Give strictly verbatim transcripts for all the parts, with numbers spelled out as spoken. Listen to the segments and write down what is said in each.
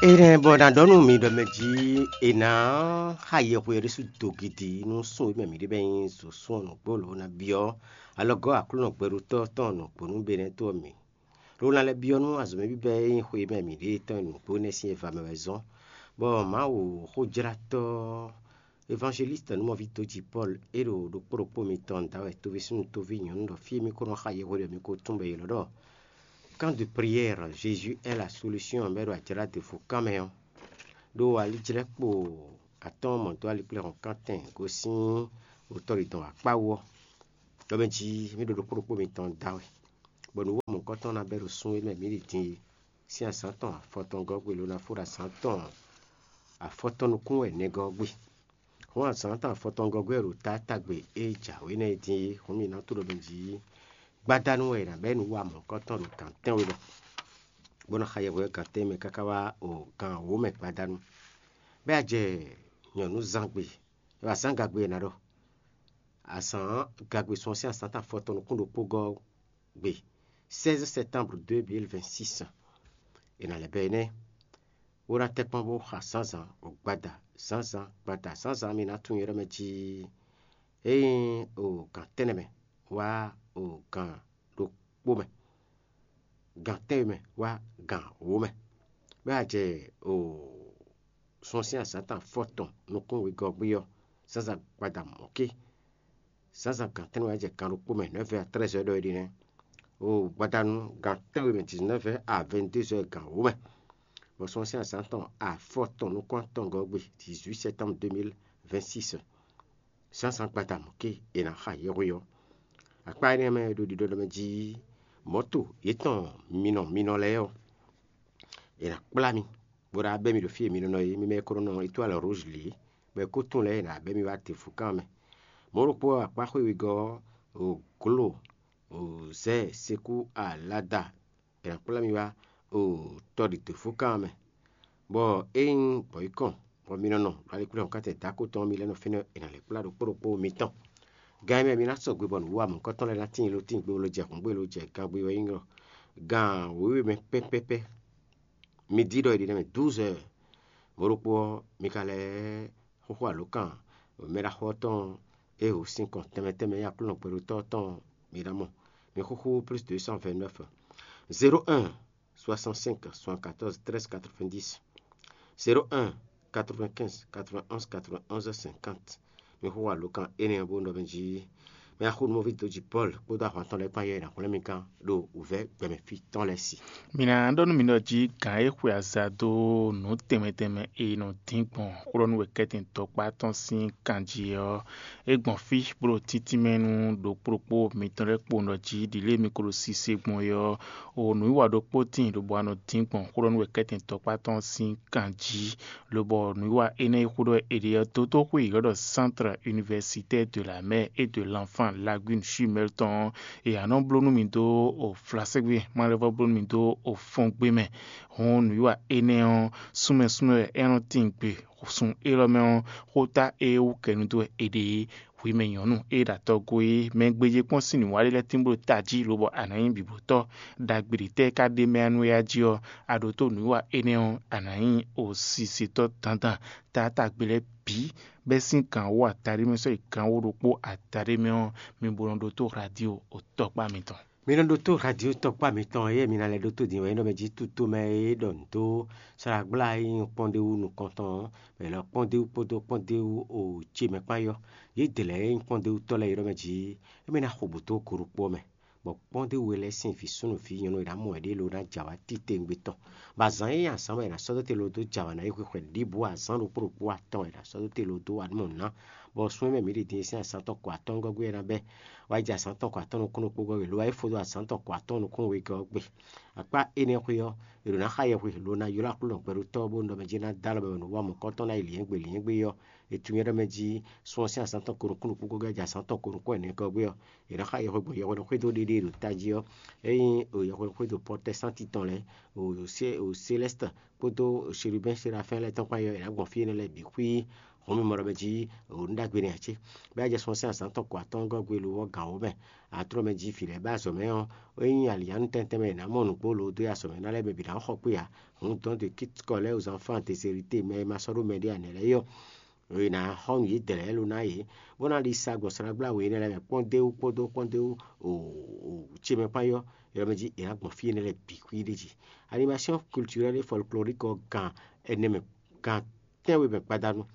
Énɛ́ bɔ è nǎ ɖɔ nú mi ɖɔ mɛ jí è nǎ xa yɛhwe ɔ́ ɖésú dogidi nú sún e mɛ mǐ ɖe bɔ é nyí zǒsún ɔ́ nǔgbó lǒ ná byɔ́ alɔgɔ́ Aklúnɔ gbɛɖotɔ́ tɔn nǔgbó nú Benɛ́to ɔ́ mǐ. Lǒ ná lɛ́ byɔ́ nú azɔ̌mɛ bíbɛ́ e nyí xwe e mɛ mǐ ɖe tɔn e nǔgbó énɛ́ sín e va mɛ wɛ zɔ́n, bɔ Mawu xójlátɔ́ Evangeliste nǔmɔví dó ji Pɔ́lu é ɖo ɖokpó ɖokpó mitɔn da wɛ toví súnnu toví nyɔ̌nu ɖɔ fí e mì ko nɔ xa yɛhweɖɛ mi ko tunwun bɔ è ylɔ́ ɖɔ Camp de prière Jésus est la solution bɔ é ɖo ajlǎ ɖěvo kan mɛ ɔ́, ɖó alijlɛ́kpo atɔ́ɔ́n mɔ dó alikplɛ́hɔn kántɛn gosín otɔ́ ɖi dɔn akpá wú ɔ́, ɖɔ mɛ jí mì ɖo ɖokpó ɖokpó mitɔn da wɛ, bɔ nǔ wɔ mɔ̌hunkɔtɔn ná bɛ́ ɖo sun e mɛ mǐ ɖi din é sín azǎn tɔn afɔtɔngɔ́ gbe ló ná fó ɖo azǎn tɔn afɔtɔn nukún wɛ nɛgɔ́ ɔ́ gbe. Hɔn azǎn tɔn afɔtɔngɔ́ gbe ɖo taátagbe e jǎwe nɛ́ é din é, hɔn mǐ ná to ɖɔ mɛ jí gbadanu wɛ è nǎ bɛ́ nǔ wa mɔ̌hunkɔtɔn ɖo gǎn tɛ́nwe mɛ, bó ná xa yɛhweɖɛ gǎn tɛ́nwe mɛ káká wá o gǎn wǒ mɛ gbadanu. Bɛ́ a jɛ nyɔ̌nu zán gbe, azǎn gagbe è nǎ ɖɔ. Azǎn gagbe sun ɔ́ sín azǎn tɔn afɔtɔn nukún ɖokpó gɔ́ gbe sɛ́zɛ́ sɛtánbru deux mille vingt-six. È nǎ lɛ́ bɛ́ énɛ́, bó ná tɛ́ kpɔ́n bó xa zǎnzǎn gbada zǎnzǎn gbada zǎnzǎn mi ná tunwun ylɔ́ mɛ jí é nyí o gǎn tɛ́nnɛ mɛ wá o gǎn ɖokpó mɛ, gǎn tɛ́nwe mɛ wá gǎn wǒ mɛ, bɔ é wá jɛ o sun ɔ́ sín azǎn tɔn afɔtɔn nukún wegɔ́ gbe ɔ́, zǎnzǎn gbada mɔ̌ké. Zǎnzǎn gǎn tɛ́nnɛ wɛ jɛ gan ɖokpó mɛ, nɛ̌ vɛ́ a trɛ́zɛ́ ɖɔ é ɖi nɛ́. O gbadanu gan tɛ́nwe mɛ dix-neuf heures à vingt-deux heures gan wǒ mɛ, bɔ sun ɔ́ sín azǎn tɔn afɔtɔn nukún atɔngɔ́ gbe dix-huit septembre deux mille vingt-six. Zǎnzǎn gbada mɔ̌ké è nǎ xa yɛhwe ɔ́. Akpá énɛ́ mɛ e ɖo ɖiɖɔ mɛ jí mɔ̌to yětɔn minɔ minɔ lɛ́ɛ ɔ́, è nǎ kplá mi, bó ná bɛ́ mi ɖo fí e mi nɔ nɔ é, mi mɛ e ko nɔ nɔ Étoile Rouge lě, bɔ è ko tunwun lɛ́ɛ è nǎ bɛ́ mi wá te fǔkan mɛ. Mɔ̌ ɖokpó ɔ́, akpá xwé wegɔ́ ɔ́, o glo, o zɛ̌ sekú alada è nǎ kplá mi wá o tɔɖi te fǔkan mɛ, bɔ ényí gbɔ̌ yi kɔn bɔ mi nɔ nɔ ɖo aliklúnɔ kántɛn dǎkó tɔn ɔ́, mi lɛ́ nɔ fínɛ́ è nǎ lɛ́ kplá ɖokpó ɖokpó mitɔn. Gan e mɛ mi ná sɔgbe bɔ nǔwiwa mɔ̌hunkɔtɔn lɛ́ɛ ná tíin lo tíin gbe lo jɛ hǔn gbe lo jɛ gan gbe wɛ nyí gan wěwe mɛ pɛ́pɛ́pɛ́. Midi ɖɔ è ɖi nɛ́ mɛ douze heures. Mɔ̌ ɖokpó ɔ́, mi ka lɛ́ xóxó alǒkan mɛɖaxó ɔ́ tɔn e ho sinkɔn tɛnmɛ tɛnmɛ nyí Aklúnɔ gbɛɖotɔ́ ɔ́ tɔn mi ná mɔ. Mi xúxú plus deux cent vingt-neuf, zéro un, soixante-cinq, soixante-quatorze, treize, quatre-vingt-dix, zéro un, quatre-vingt-quinze, quatre-vingt-onze, quatre-vingt-onze, cinquante. Mi xó wa lǒ kan énɛ́ ɔ́ bó nɔ mɛ jí mɛ axónúmɔví dó jí Pɔ́lu kpódó ahwan tɔn lɛ́ɛ kpán yɛ è nǎ hwlɛ́n mi gán ɖo wǔvɛ́ gbɛmɛ fí tɔn lɛ́ɛ sí. Mi ná ɖɔ nú mi ɖɔ jí gǎn e xwe aza dó nǔ tɛnmɛ tɛnmɛ e nɔ dín gbɔn xwlɔ́nú wɛ kɛ́tɛn tɔkpá tɔn sín kan jí ɔ́, é gbɔn fí bó ɖo títínmɛ nú ɖokpó ɖokpó mitɔn lɛ́ɛ kpowun ɖɔ jí ɖi lě e mi ko ɖo sise gbɔn é ɔ́, o nǔwiwa ɖokpó tíin lobo wá nɔ dín gbɔn xwlɔ́nú wɛ kɛ́tɛn tɔkpá tɔn sín kan jí, lobɔ nǔwiwa énɛ́ e xó ɖɔ è ɖe ɔ́ dó dó xwé yě ɔ́ ɖɔ Centre Universitaire de la Mère et de l'Enfant Lagune Chumel tɔn ɔ́, è nǎ nɔ bló nú mi dó o flasɛ́gbé, ma lɛ́ vɔ́ bló nú mi dó o fɔ́ngbé mɛ. Hɔn nǔwiwa énɛ́ ɔ́, súnmɛ súnmɛ wɛ é nɔ tíin gbe sun élɔ́ mɛ ɔ́, xóta e wú kɛnu dó wɛ è ɖe é. Hwi mɛ nyɔ̌nu e ɖo atɔgo é, mɛ gbéjé kpɔ́n sín nǔwa ɖé lɛ́ɛ tín bló tají lobɔ a nǎ nyí bǐblótɔ́ ɖagbe ɖě tɛ́ ka ɖ'é mɛ ɔ́ nú éyá jí ɔ́, a ɖǒ tó nǔwiwa énɛ́ ɔ́, a nǎ nyí osisitɔ́ dandan. Taátagbe lɛ́ɛ bǐ bɛ́ sín gǎn wú ataɖé mɛ sɔ́ yi gǎn wú ɖokpó ataɖé mɛ ɔ́, mi bo nɔ ɖótó radio o tɔkpá mitɔn. Mi nɔ ɖótó radio tɔkpá mitɔn e mi ná lɛ́ ɖótó din wɛ é nɔ mɛ jí tutomɛ e ɖɔ nǔ dó slágbla e nyí kpɔ́ndéwú nukɔntɔn ɔ́, mɛ lɔ kpɔ́ndéwú kpódó kpɔ́ndéwú o ce mɛ kpán yɔ. Yě dě lɛ́ɛ e nyí kpɔ́ndéwútɔ́ lɛ́ɛ é nɔ mɛ jí émí ná xo bǔ dó go ɖokpó ɔ́ mɛ, bɔ kpɔ́ndéwú e lɛ́ɛ sín vǐ súnnu vǐ nyɔ̌nu e ná mɔ wɛ ɖě lo ná jɛ awǎ titewungbe tɔn. Bɔ azǎn e nyí azǎn wɛ è nǎ sɔ́ dó te lo dó jɛ awǎ ná yi xwixwɛ ɖěbǔ azǎn ɖokpó ɖokpó atɔn wɛ è nǎ sɔ́ dó te lo dó wá mɔ ná, bɔ sun e mɛ mǐ ɖi din e sín azǎn tɔn kɔ atɔ́ɔ́ngɔ́ gbe ɔ́ ná bɛ́ wá yi jɛ azǎn tɔn kɔ atɔ́ɔ́n nukún ɖokpó gɔ́ gbe, lo wá yi fó dó azǎn tɔn kɔ atɔ́ɔ́n nukún wegɔ́ ɔ́ gbe. Akpá énɛ́ xwé ɔ́, è ɖǒ ná xa yɛhwe lo ná ylɔ́ Aklúnɔ gbɛɖotɔ́ ɔ́ bónú ɖɔ mɛ jí é ná dó alɔ mɛ bɔ nǔwanmɔ̌kɔ́tɔn ná yi lǐnyɛ́gbe lǐnyɛ́gbe ɔ́, è tunwun nyɛ ɖɔ mɛ jí sun ɔ́ sín azǎn tɔn ko nukún ɖokpó gɔ́ gbe jɛ azǎn tɔn ko nukún ɛnɛ gɔ́ gbe ɔ́, è nǎ xa yɛhwe gbɔn yɛhwe nɔ xwedó ɖéɖé ɖo tají ɔ́, ényí yɛhwe nɔ xwedó pɔtɛsánti tɔn lɛ́ɛ, o Célɛ́sti kpódó Sherubɛ́n Serafɛ́n lɛ́ɛ tɔn kpán yɔ è nǎ gbɔn fí énɛ́ lɛ́ɛ bǐ xwí Hɔn mi mɔ ɖɔ mɛ jí nǔ ɖagbe nɛ ǎ cé? Bɛ́ a jɛ sɔ́n sín azǎn tɔn ko atɔ́ɔ́ngɔ́ gbe lo ɔ́ gǎn wǒ mɛ. Atlɔ́ mɛ jí vǐ lɛ́ɛ bá azɔ̌ mɛ ɔ́, é nyí alǐyanu tɛntɛn mɛ è nǎ mɔ nǔgbó lo dó yi azɔ̌ mɛ ná lɛ́ɛ mɛ bǐ ná xɔ kpé ǎ. Hǔn dɔn de kítkɔ lɛ́ɛ aux enfants de sérité mɛ e ma sɔ́ ɖó mɛɖé ǎ nɛ́ lɛ́ɛ yɔ. È nǎ xɔ nǔ yědɛɛ lɛ́ɛ lo ná yě, bó ná ɖi sa gbɔn slagblá we énɛ́ lɛ́ɛ mɛ kpɔ́ndéwú kpódó kpɔ́ndéwú ce mɛ kpán yɔ. Yɔ mɛ jí è nǎ gbɔn fí énɛ́ lɛ́ɛ bǐ xwí ɖé jí. Animation culturelle et folklorique ɔ́ gan ɛnɛ mɛ gan tɛ́nwe mɛ gbadanu.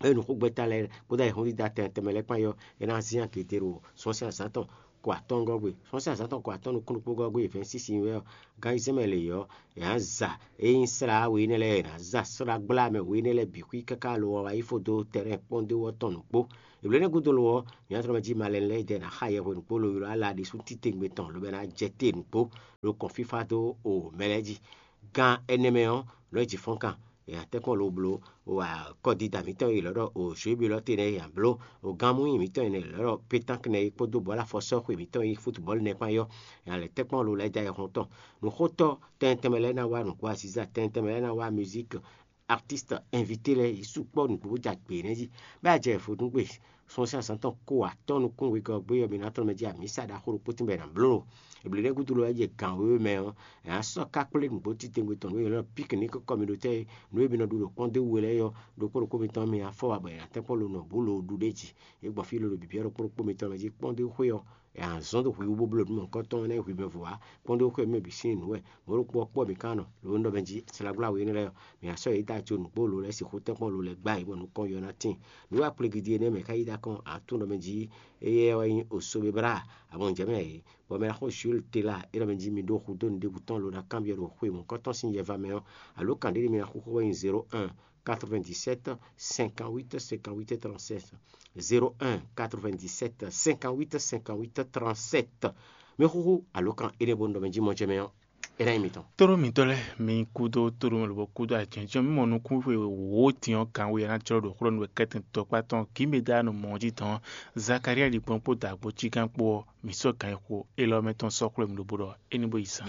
Eye nǔxogbɛ́ta lɛ́ɛ kpódó ayǐhɔ́ngídá tɛnmɛ tɛnmɛ lɛ́ɛ kpán yɔ, é ná zín agědé ɖo sɔ́nsɛ́n azǎn tɔn ko atɔ́ɔ́ngɔ́ gbe. Sɔ́nsɛ́n azǎn tɔn ko atɔ́ɔ́n nukúnnú kpó gɔ́ gbe vɛ̌ɛn sísin wɛ ɔ́, gan yi zɛ́n mɛ lě ɔ́, è nǎ za é nyí slá we énɛ́ lɛ́ɛ, è nǎ za slá gbla mɛ we énɛ́ lɛ́ɛ bǐ xwí káká lo ɔ́ wá yi fó dó tɛrɛ́n kpɔ́ndéwú ɔ́ tɔn nǔgbó. Eblo énɛ́ gúdo lo ɔ́, mǐ ná tlɔ́ mɛ jí malɛnu lɛ́ɛ yi dɛ ná xa yɛhwe nǔgbó lo ylɔ́ ala ɖésú titewungbe tɔn lobo ná jɛ te nǔgbó lo kɔn fífá dó o mɛ lɛ́ɛ jí. Gan ɛnɛ mɛ ɔ́, lɔ̌ jǐ fɔ́n kan è nǎ tɛ́nkpɔ́n lo bló kɔdida mǐtɔn e lɔ̌ ɖɔ o jwěbi lɔ́ te nɛ́ è nǎ bló, o gánmúnyi mǐtɔn e lɔ̌ ɖɔ pétánk nɛ́ é kpódó bɔ̌lafɔsɔ́xwe mǐtɔn e nyí futubɔ́lu nɛ́ kpán yɔ́, è nǎ lɛ́ tɛ́nkpɔ́n lo lɛ́ɛ dó ayɛhɔn tɔn. Nǔxótɔ́ tɛnmɛ lɛ́ɛ ná wá nǔgbó aziza, tɛnmɛ lɛ́ɛ ná wá mizík, artiste invité lɛ́ɛ yě sukpɔ́ nǔgbó bó jɛ agbe nɛ́ jí. Bɛ́ a jɛ vodúngbe sɔ́nsɛ́n azǎn tɔn ko atɔ́ nukún wegɔ́ gbé ɔ́, mi ná tlɔ́ mɛ jí amǐsa ɖaxó ɖokpó tínbɔ è nǎ bló. Ebli lɛ́ɛ gúdo lɔ wɛ jɛ gǎn wéwé mɛ ɔ́, è nǎ sɔ́ ká kplé nǔgbó titewungbe tɔn nú è nɔ píkník kɔmíɖotɛ́ e nǔ e mi nɔ ɖu ɖo kpɔ́ndéwú we lɛ́ɛ ɔ́, ɖokpó ɖokpó mitɔn mi afɔ wa bɔ è nǎ tɛ́nkpɔ́n lo nɔ bǔ lo ɖu ɖ'é jí. É gbɔn fí lolo bǐbí ɔ́ ɖokpó ɖokpó mitɔn mɛ jí kpɔ́ndéwú xwé ɔ́, è nǎ zɔ́n dó hwi wú bó bló nǔ mɔ̌hunkɔtɔn ɔ́ ná nyí hwi mɛ vo ǎ. Kpɔ́ndéwú xwé mɛ bǐ sín nǔ wɛ, mɔ̌ ɖokpó ɔ́ kpɔ́ mǐ ka nɔ, lo nɔ mɛ jí slagbla we énɛ́ lɛ́ɛ ɔ́, mǐ ná sɔ́ yě dó ajo nǔgbó lo lɛ́ɛ sixú tɛ́nkpɔ́n lo lɛ́ɛ gbá yě bɔ nukɔn yɔ ná tíin. Nǔ e akplé gidi énɛ́ mɛ ka yí dó akɔn ǎ tún nɔ mɛ jí éyɛ́ wɛ nyí Osobebra, abɔnjɛmɛ yě, bɔ mɛ ná xo Jules Tela é nɔ mɛ jí mi ɖó hudó nǔɖébǔ tɔn lo ná kanbyɔ́ ɖo xwe mɔ̌hunkɔtɔn sín yɛva mɛ ɔ́, alo kan ɖé mi ná xúxú wɛ nyí zéro un quatre-vingt-dix-sept cinquante-huit cinquante-huit trente-sept. Zéro un quatre-vingt-dix-sept cinquante-huit cinquante-huit trente-sept. Mi xúxú alo kan énɛ́ bó nɔ mɛ jí mɔjɛmɛ ɔ́, é ná nyí mitɔn. Tlóló mǐtɔn lɛ́ɛ, mi kúdó tlóló mɛ lobɔ kúdó ajɛnjɛn mi mɔ nukún xwe wǒ din ɔ́ kan wú ya ná jlɔ́ ɖo xlɔ́ nú wɛ kɛ́tɛn tɔkpá tɔn kǐmɛ ɖ'é anu mɔ̌ jí tɔn. Zakalía ɖi gbɔn kpó dǎgbó cí gán kpó ɔ́, mǐ sɔ́ gǎn e xo élɔ́ mɛ tɔn sɔ́ xwlé mì lobo ɖɔ é ní bó yi zán.